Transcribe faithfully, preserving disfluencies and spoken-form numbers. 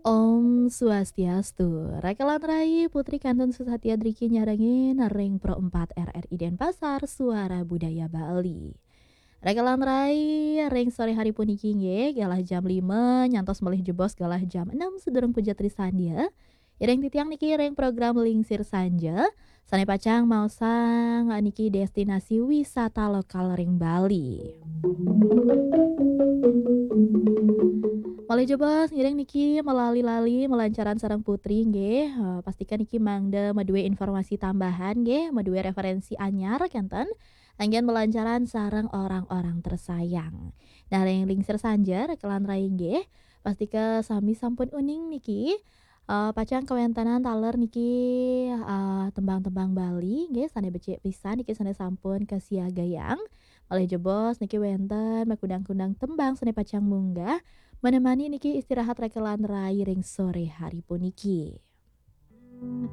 Om Swastiastu. Rakelan rai, Putri kantun susatia driki nyarengin ring Pro empat R R I Denpasar, Suara Budaya Bali. Rakelan rai, ring sore hari puniki nggih, galah jam lima nyantos malih jebos galah jam enam sadurung puja trisandya. Iring titiang niki ring program Lingsir Sanja, sane pacang maosang niki destinasi wisata lokal ring Bali. Malih jebos ngiring niki malali-lali malancaran sareng Putri nggih. Eh, pastika niki mangda madue informasi tambahan nggih, madue referensi anyar kenten. Anggen malancaran sareng orang-orang tersayang. Nah, ring Lingsir Sanja, rakelan rai nggih. Pastika sami sampun uning niki. Eh, pacang kawentenan taler niki, eh, tembang-tembang Bali nggih, sane becik pisan niki sane sampun kasiagayang. Malih jebos niki wenten makudang-kudang tembang sane pacang munggah menemani niki istirahat rakelan rai ring sore hari puniki.